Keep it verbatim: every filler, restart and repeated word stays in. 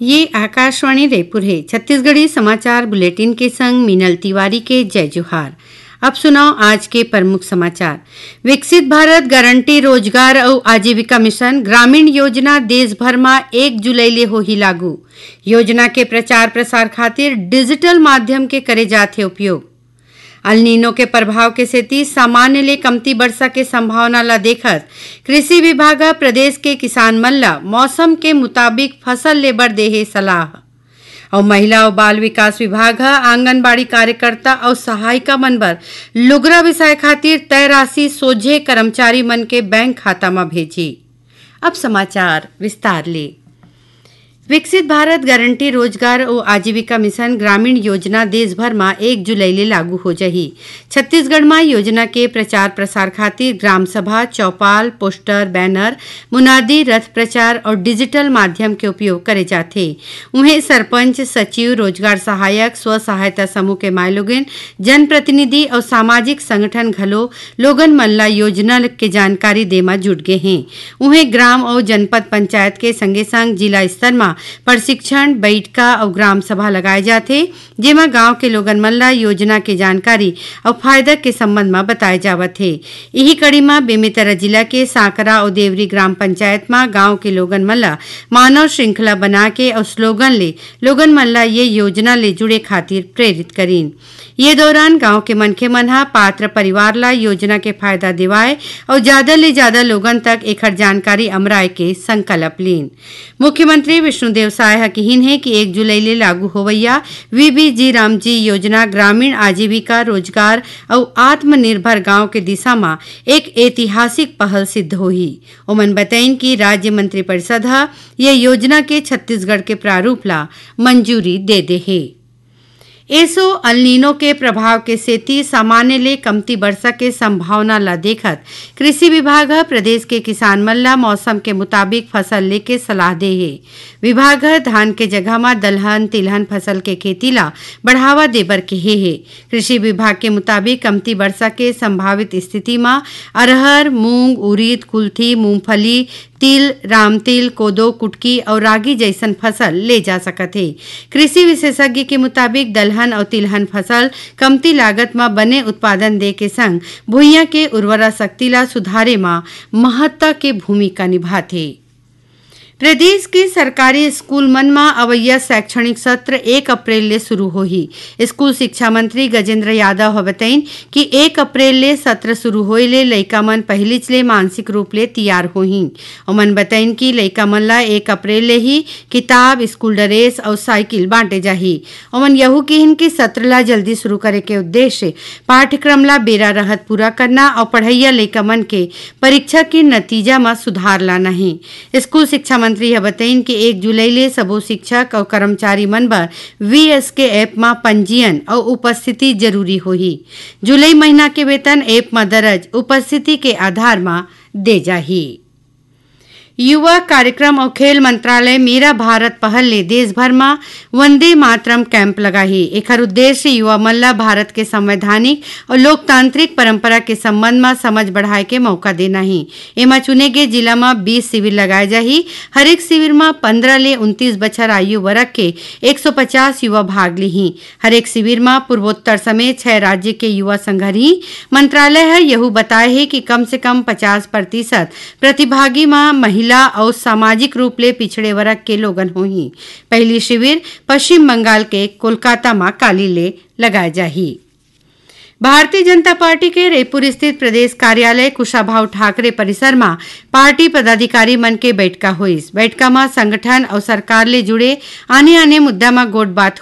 ये आकाशवाणी रायपुर हे। छत्तीसगढ़ी समाचार बुलेटिन के संग मीनल तिवारी के जय जोहार। अब सुनव आज के प्रमुख समाचार। विकसित भारत गारंटी रोजगार अउ आजीविका मिशन ग्रामीण योजना देश भर म एक जुलाई ले होही लागू। योजना के प्रचार प्रसार खातिर डिजिटल माध्यम के करे जाथे उपयोग। अल नीनो के प्रभाव के सेती सामान्य ले कमती बरसा के संभावना ल देखत कृषि विभाग ह प्रदेश के किसान मन ल मौसम के मुताबिक फसल ले बर दे हे सलाह। अउ महिला अउ बाल विकास विभाग ह आंगनबाड़ी कार्यकर्ता अउ सहायिका मन बर लुगरा बिसाए खातिर तय राशि सोझे कर्मचारी मन के बैंक खाता म भेजही। अब समाचार विस्तार ले। विकसित भारत गारंटी रोजगार अउ आजीविका मिशन ग्रामीण योजना देश भर म एक जुलाई ले लागू हो जाही। छत्तीसगढ़ म योजना के प्रचार प्रसार खातिर ग्राम सभा, चौपाल, पोस्टर, बैनर, मुनादी, रथ प्रचार अउ डिजिटल माध्यम के उपयोग करे जाथे। उहें, सरपंच, सचिव, रोजगार सहायक, स्व सहायता समूह के माईलोगिन, जनप्रतिनिधि अउ सामाजिक संगठन घलो लोगन मन ल योजना के जानकारी दे म जुट गे हें। उहें, ग्राम अउ जनपद पंचायत के संगे-संग जिला स्तर म प्रशिक्षण, बइठका अउ ग्राम सभा लगाए जाथे, जेमा गांव के लोगन मन ल योजना के जानकारी अउ फायदा के संबंध म बताए जावत हे। इही कड़ी म बेमेतरा जिला के सांकरा अउ देवरी ग्राम पंचायत म गांव के लोगन मन ल मानव श्रृंखला बना के अउ स्लोगन ले लोगन मन ल ये योजना ले जुड़े खातिर प्रेरित करीन। ये दौरान गांव के मनखे मन ह पात्र परिवार ल योजना के फायदा दिवाए अउ जादा ले जादा लोगन तक एखर जानकारी अमराए के संकल्प लीन। मुख्यमंत्री विष्णुदेव साय ह किहिन हे कि एक जुलाई ले लागू होवइया वीबीजी रामजी योजना ग्रामीण आजीविका, रोजगार अउ आत्मनिर्भर गांव के दिशा म एक ऐतिहासिक पहल सिद्ध होही। ओमन बतइन कि राज्य मंत्रिपरिषद ह ये योजना के छत्तीसगढ़ के प्रारूप ला मंजूरी दे दे हे। एसो अल नीनो के प्रभाव के सेती सामान्य ले कमती बरसा के संभावना ल देखत कृषि विभाग ह प्रदेश के किसान मन ल मौसम के मुताबिक फसल लेके सलाह दे हे। विभाग ह धान के जगह म दलहन, तिलहन फसल के खेती ल बढ़ावा देबर केहे हे। कृषि विभाग के मुताबिक कमती बरसा के संभावित स्थिति म अरहर, मूंग, उरीद, कुल्थी, मूंगफली, तिल, रामतिल, कोदो, कुटकी अउ रागी जइसन फसल ले जा सकत हे। कृषि विशेषज्ञ के मुताबिक दलहन अउ तिलहन फसल कमती लागत म बने उत्पादन दे के संग भुइयां के उर्वरा शक्ति ला सुधारे म महत्ता के भूमिका निभाथे। प्रदेश के सरकारी स्कूल मन म अवइया शैक्षणिक सत्र एक अप्रैल ले शुरू होही। स्कूल शिक्षा मंत्री गजेंद्र यादव ह बतइन कि एक अप्रैल ले सत्र शुरू होए ले लइका मन पहिलीच ले मानसिक रूप ले तियार होही। ओमन बतइन कि लइका मन ला एक अप्रैल ले ही किताब, स्कूल ड्रेस अउ साइकिल बांटे जाही। ओमन यहू किहिन कि सत्र ला जल्दी शुरू करे के उद्देश्य पाठ्यक्रम ला बेरा रहत पूरा करना अउ पढ़इया लइका मन के परीक्षा के नतीजा म सुधार लाना हे। स्कूल शिक्षा मंत्री ह बतइन कि एक जुलाई ले सबो शिक्षक अउ कर्मचारी मन बर वीएसके ऐप म पंजीयन अउ उपस्थिति जरूरी होही। जुलाई महीना के वेतन ऐप म दर्ज उपस्थिति के आधार म दे जाही। युवा कार्यक्रम अउ खेल मंत्रालय मेरा भारत पहल ले देश भर म वंदे मातरम कैंप लगाही। एखर उद्देश्य युवा मन ल भारत के संवैधानिक अउ लोकतांत्रिक परंपरा के संबंध म समझ बढ़ाए के मौका देना हे। एमा चुने गे जिला म बीस शिविर लगाए जाही। हरेक शिविर म पंद्रह ले उनतीस बछर आयु वर्ग के एक सौ पचास युवा भाग लिही। हरेक शिविर म पूर्वोत्तर समेत छह राज्य के युवा संघरही। मंत्रालय ह यहू बताए हे कि कम से कम पचास प्रतिशत प्रतिभागी म महिला अउ सामाजिक रूप ले पिछड़े वर्ग के लोगन होही। पहिली शिविर पश्चिम बंगाल के कोलकाता म काली ले लगाए जाही। भारतीय जनता पार्टी के रईपुर स्थित प्रदेश कार्यालय कुशाभाऊ ठाकरे परिसर म पार्टी पदाधिकारी मन के बैठका होइस। बैठका म संगठन अउ सरकार ले जुड़े आने-आने मुद्दा म गोठ बात